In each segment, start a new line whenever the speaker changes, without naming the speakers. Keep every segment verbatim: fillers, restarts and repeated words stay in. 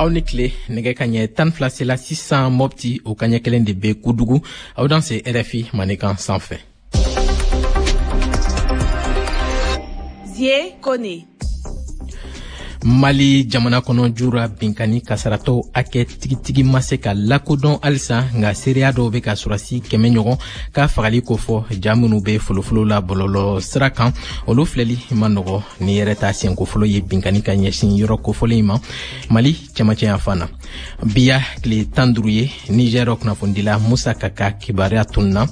Aw ni tile. Nɛgɛ ka ɲɛ tan fila sela sisan Mɔpti, o kaɲɛ kelen de bɛ Kudugu. Aw danse R F I Mandenkan sanfɛ.
Zie Kone.
Mali jamana kɔnɔ, jura binkani kasaratɔw hakɛ tigitigi ma se ka lakodɔn halisa, nka seereya dɔw bɛ ka sɔrɔdasi kɛmɛ ɲɔgɔn ka fagali kofɔ. Ja minnu bɛ folofolo la bɔlɔlɔ sira kan, olu filɛli ma nɔgɔ. Ni yɛrɛ ta siɲɛko fɔlɔ ye binkani ka ɲɛsin yɔrɔ kofɔlen in ma Mali cɛmancɛ yanfan na. Biya tile tan duuru ye Nizɛr kunnafonidila Musa Kaka kibaruya tununa.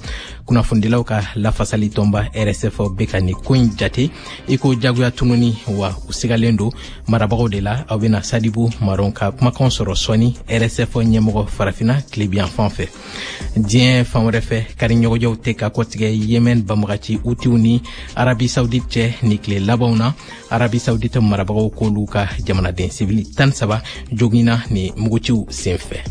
Kunnafonidilaw ka lafasali tɔnba R S F bɛ ka nin ko in jate i ko jagoya tununi, wa u sigalen don marabagaw de la. Aw bɛna Sadibu Maron ka kumakan sɔrɔ sɔɔni, R S F ɲɛmɔgɔ Farafina tilebiyanfan fɛ. Diɲɛ fan wɛrɛ fɛ, kari ɲɔgɔnjɛw tɛ ka kɔtigɛ Yemen banbagaci Utiw ni Arabi Saudite cɛ ni tile labanw na. Arabi Saudite marabagaw k'olu ka jamanaden sivili tan saba joginna ni muguciw sen fɛ.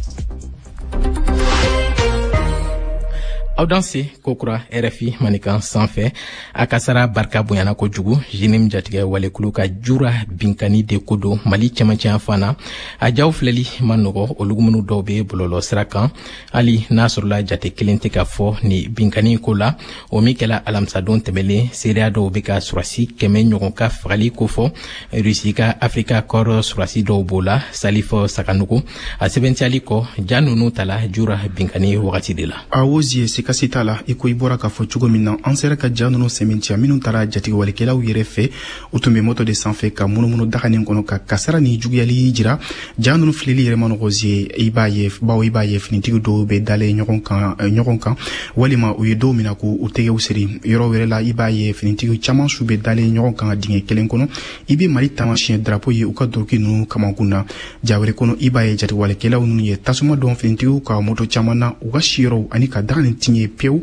Aw danse kokura R F I Manikan sanfɛ. A kasara barika bonyana kojugu. JNIM jatigɛ walekulu ka jura binkani de ko don Mali cɛmancɛ fan na. A jaw filɛli ma nɔgɔ, olu minnu dɔw bɛ bɔlɔlɔ sira kan. Hali n'a sɔrɔla jate kelen tɛ ka fɔ ni binkani ko la, o min kɛla alamisadon tɛmɛlen, seereya dɔw bɛ ka sɔrɔdasi kɛmɛ ɲɔgɔn ka fagali kofɔ. Rusi ka Afrika Corps sɔrɔdasi dɔw b'o la. Salifɔ Sakanugu a sɛbɛntiyali kɔ, ja ninnu tala jura binkani wagati de la.
Awɔ Zie, sikasi t'a la. I ko i bɔra k'a fɔ cogo min na, an sera ka ja ninnu sɛmɛntiya minnu taara jatigɛwalekɛlaw yɛrɛ fɛ. U tun bɛ moto de sanfɛ ka munumunu daganin kɔnɔ ka kasara ni juguyali jira. Ja ninnu filɛli yɛrɛ ma nɔgɔ Zie, i b'a ye, bawo i b'a ye finitigi dɔw bɛ dalen ɲɔgɔn kan ɲɔgɔn kan, walima u ye dɔw minɛ k'u tɛgɛw siri. Yɔrɔ wɛrɛ la, i b'a ye finitigi caman su bɛ dalen ɲɔgɔn kan dingɛ kelen kɔnɔ. I bɛ Mali taamasiyɛn drapeau ye u ka doroki ninnu kamankun na. Ja wɛrɛ kɔnɔ, i b'a ye jatigɛwalekɛlaw ninnu ye tasuma dɔn finitigiw ka moto caman na u ka siyɔrɔw ani ka daga nin tiɲɛ pewu.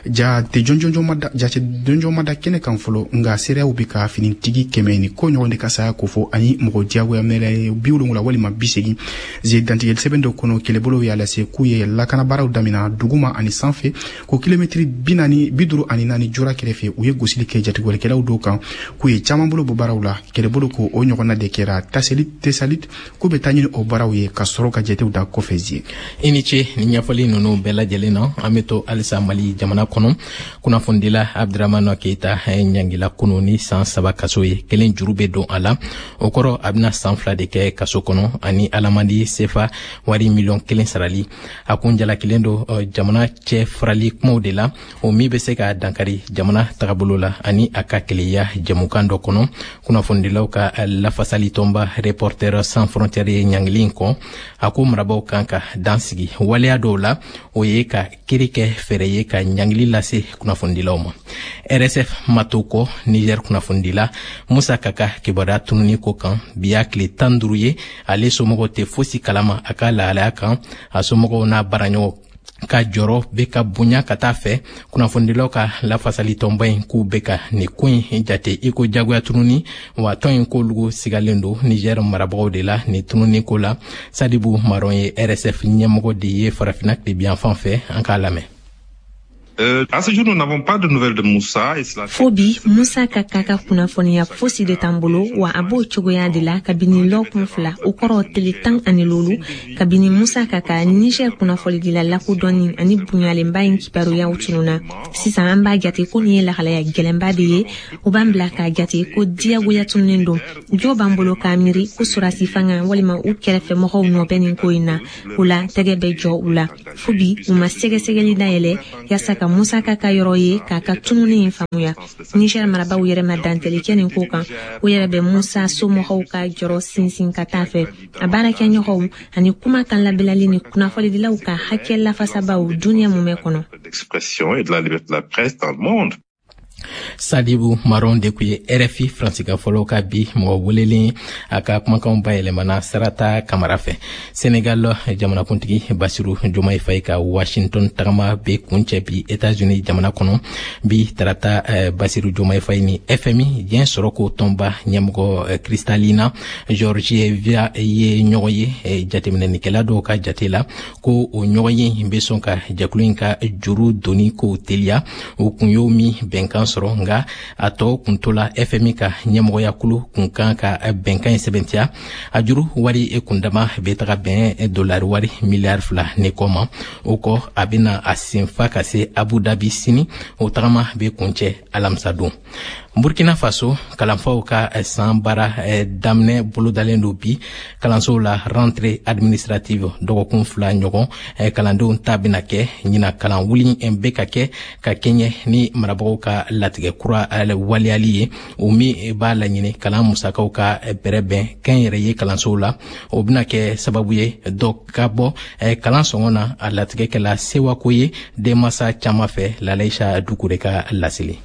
Ja tɛ jɔnjɔn ma da, jate jɔnjɔn ma da kɛnɛ kan fɔlɔ, nka seereyaw bɛ ka finitigi kɛmɛ ni ko ɲɔgɔn de ka saya kofɔ, ani mɔgɔ diyagoya minɛ bi wolonwula walima bi segin. Ze, dantigɛli sɛbɛn dɔ kɔnɔ, kɛlɛbolow y'a lase k'u ye lakanabaaraw damina duguma ani sanfɛ, ko kilomɛtiri bi naani bi duuru ani naani jura kɛrɛfɛ, u ye gosili kɛ jatigɛwalekɛlaw dɔw kan, k'u ye caman bolo bɔ baaraw la. Kɛlɛbolo ko o ɲɔgɔnna de kɛra Taseli Tesalit, k'u bɛ taa ɲini o baaraw ye ka sɔrɔ ka jatew da kɔfɛ Zie.
I ni ce ni ɲɛfɔli ninnu bɛɛ lajɛlen na. An bɛ to halisa Mali jamana kɔnɔ. Kunnafonidila Abdramane Keita ɲangila kunu ni san saba kaso ye, kelen juru bɛ don a la. O kɔrɔ, a bɛna san fila de kɛ kaso kɔnɔ ani alamandi sefa wari miliyɔn kelen sarali. A kun jalakilen don jamana cɛ farali kumaw de la, o min bɛ se ka dankari jamana tagabolo la ani a ka keleya jɛmukan dɔ kɔnɔ. Kunnafonidilaw ka lafasali tɔnba Reporter Sans Frontières ye ɲangili in kɔn. A ko marabaw kan ka dan sigi waleya dɔw la, o ye ka kiri kɛ fɛɛrɛ ye ka ɲangili lase kunnafonidilaw ma. R S F ma to kɔ Niger kunnafonidila Musa Kaka kibaruya tununi ko kan. Bi y'a tile tan duuru ye, ale somɔgɔw tɛ fosi kalama a ka lahalaya kan. A somɔgɔw n'a baaraɲɔgɔn ka jɔrɔ bɛ ka bonya ka taa fɛ. Kunnafonidilaw ka lafasali tɔnba in k'u bɛ ka nin ko in jate i ko jagoya tununi, wa tɔn in k'olu sigalen don Niger marabagaw de la nin tununi ko la. Sadibu Maron ye R S F ɲɛmɔgɔ de ye Farafinna tilebiyanfan fɛ. An k'a lamɛn.
Euh, à ce jour, nous n'avons pas de nouvelles de Moussa. Et cela.
Fo bi, Musa ka ka ka kunnafoniya fosi de t'an bolo, wa a b'o cogoya de la kabini lɔkun fila, o kɔrɔ tele tan ani lolu, kabini Musa ka ka Niger kunnafonidila lakodɔnni ani bonyalenba in kibaruyaw tununa. Sisan an b'a jate ko nin ye lahalaya gɛlɛnba de ye. O b'an bila k'a jate ko diyagoya tununnen don. Jo b'an bolo k'a miiri ko sɔrɔdasi fanga walima u kɛrɛfɛmɔgɔw nɔ bɛ nin ko in na. O la, tɛgɛ bɛ jɔ u la. Fo bi, u ma sɛgɛsɛgɛli dayɛlɛ yaasa ka Musa ka ka yɔrɔ ye k'a ka tununi in faamuya. Niger marabaw yɛrɛ ma dantɛli kɛ nin ko kan. O yɛrɛ bɛ Musa somɔgɔw ka jɔrɔ sinsin ka taa fɛ, a baarakɛɲɔgɔnw ani kuma kan labilali ni kunnafonidilaw ka hakɛ lafasabaw duniɲɛ mumɛ kɔnɔ.
D'expression et de la liberté de la presse dans le monde.
Sadibu Maron de kun ye R F I faransikan fɔlɔ ka bi mɔgɔ welelen. A ka kumakanw bayɛlɛmana Sarata Kamara fɛ. Senegal jamanakuntigi Basiru Jomayi Fayi ka Washington tagama be kuncɛ bi Etats-Unis jamana kɔnɔ. Bi tarata, eh, Basiru Jomayi Fayi ni F M I, diɲɛ sɔrɔko tɔnba ɲɛmɔgɔ eh, Kristalina Georgieva ye ɲɔgɔn ye. eh, jateminɛnikɛla dɔw ka jate la, ko o ɲɔgɔn ye bɛ sɔn ka jɛkulu in ka juru doni kow teliya, o kun y'o min bɛnkan. sɔrɔ, nka a tɔ kun tola F M I ka ɲɛmɔgɔyakulu kun kan ka bɛnkan in sɛbɛntiya. A juru wari kundama bɛ taga bɛn dolari wari miliyari fila ni kɔ ma. O kɔ, a bɛna a senfa ka se Abu Dhabi sini. O tagama bɛ kuncɛ alamisadon. Burkina Faso, kalanfaw ka san baara daminɛ bolodalen don bi kalansow la, rentrée administrative. Dɔgɔkun fila ɲɔgɔn kalandenw ta bɛna kɛ ɲina. Kalan wuli bɛ ka kɛ ka kɛɲɛ ni marabagaw ka latigɛ kura waleyali ye, o min b'a laɲini kalan musakaw ka bɛrɛbɛn kɛnyɛrɛye kalansow la. O bɛna kɛ sababu ye dɔ ka bɔ kalan sɔngɔ na. A latigɛ kɛla sewako ye denmasa caman fɛ. Lalaisa Dukure ka laseli.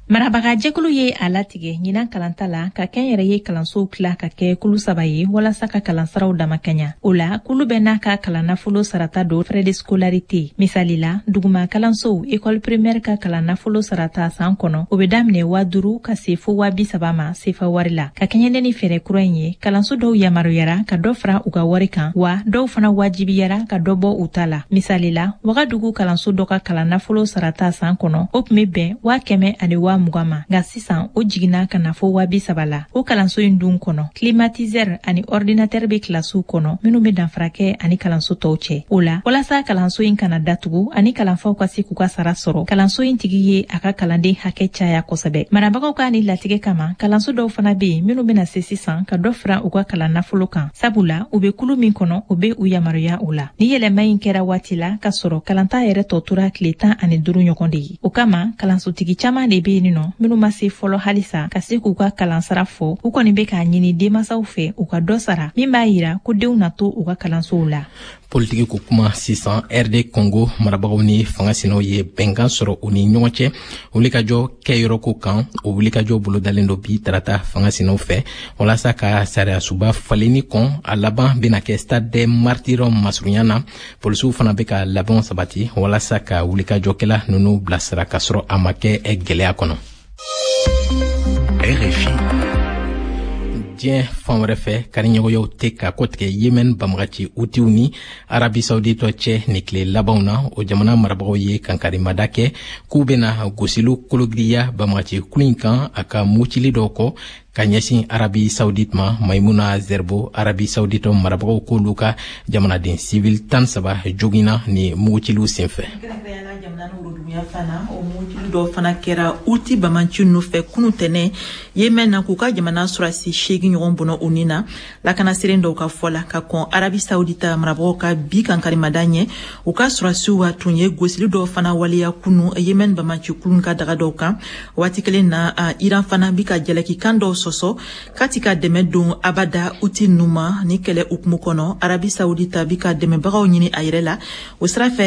Marabagajɛkulu ye a latigɛ ɲinan kalanta la ka kɛnyɛrɛye kalansow tila ka kɛ kulu saba ye walasa ka kalansaraw damakaɲa. O la, kulu bɛɛ n'a ka kalan nafolo sarata don, frais de scolarité. Misali la, duguma kalansow, école primaire, ka kalan nafolo sarata san kɔnɔ, o be daminɛ waa duru ka se fo waa bi saba ma sefa wari la. Ka kɛɲɛ ni fɛɛrɛ kura in ye, kalanso dɔw yamaruyara ka dɔ fara u ka wari kan, wa dɔw fana wajibiyara ka dɔ bɔ u ta la. Misali la, Wagadugu kalanso dɔ ka kalan nafolo sarata san kɔnɔ, o tun be bɛn waa kɛmɛ ani waa mugan ma, nka sisan o jiginna ka na fo waa bi saba la. O kalanso in dun kɔnɔ, climatiseur ani ordinateur be kilasiw kɔnɔ minnu be danfara kɛ ani kalanso tɔw cɛ. O la, walasa kalanso in kana datugu ani kalanfaw ka se k'u ka sara sɔrɔ, kalanso in tigi ye a ka kalanden hakɛ caya kosɛbɛ. Marabagaw ka ni latigɛ kama, kalanso dɔw fana be yen minnu bena se sisan ka dɔ fara u ka kalan nafolo kan, sabula u be kulu min kɔnɔ, o be u yamaruya o la. Ni yɛlɛma in kɛra waati la ka sɔrɔ kalanta yɛrɛ tɔ tora tile tan ani duru ɲɔgɔn de ye. O kama, kalansotigi caman de be yen nɔ minnu ma se fɔlɔ halisa ka se k'u ka kalansara fɔ. U kɔni be k'a ɲini denmasaw fɛ u ka dɔ sara min b'a yira ko denw na to u ka kalansow la.
Politiki ko kuma sisan. R D Congo marabagaw ni fanga sinaw ye bɛnkan sɔrɔ u ni ɲɔgɔn cɛ wulikajɔ kɛyɔrɔko kan. O wulikajɔ bolodalen don bi tarata fanga sinaw fɛ walasa ka sariyasuba falenni kɔn. A laban bena kɛ Stade des Martyrs masurunya na. Polisiw fana be ka labɛnw sabati walasa ka wulikajɔkɛla nunu bilasira ka sɔrɔ a ma kɛ gwɛlɛya kɔnɔ.
R F I.
Diɲɛ fan wɛrɛ fɛ, kariɲɔgɔnyaw tɛ ka kɔtigɛ Yemen banbagaci Hutiw ni Arabi Sauditɔ cɛ ni tile labanw na. O jamana marabagaw ye kankarimada kɛ k'u bena gosiliw kologiriya banbagaci kulu in kan a ka mucili dɔw kɔ ka ɲɛsin Arabi Saudite ma. Maimuna Zerbo, Arabi Saudite marabagaw k'olu ka jamanaden sivil tan saba joginna ni muguciliw senfɛ.
Fana o mugutili dɔw fana kɛra Uti bamanci ninnu fɛ kunu tɛnɛ Yemen na, k'u ka jamana sɔrɔdasi seegin ɲɔgɔn bɔnɔ u ni na, lakanaseren dɔw ka fɔ la. Ka kɔn Arabi Saudita marabagaw ka bi kankarimada ɲɛ, u ka sɔrɔdasiw tun ye gosili dɔw fana waleya kunu Yemen bamanci kulun ka daga dɔw kan. Waati kelen na, Iran fana bi ka jalaki dɔw sɔsɔ k'a ti ka dɛmɛ don abada Uti ninnu ma ni kɛlɛ hukumu kɔnɔ. Arabi Saudita bi ka dɛmɛbagaw ɲini a yɛrɛ la o sira fɛ.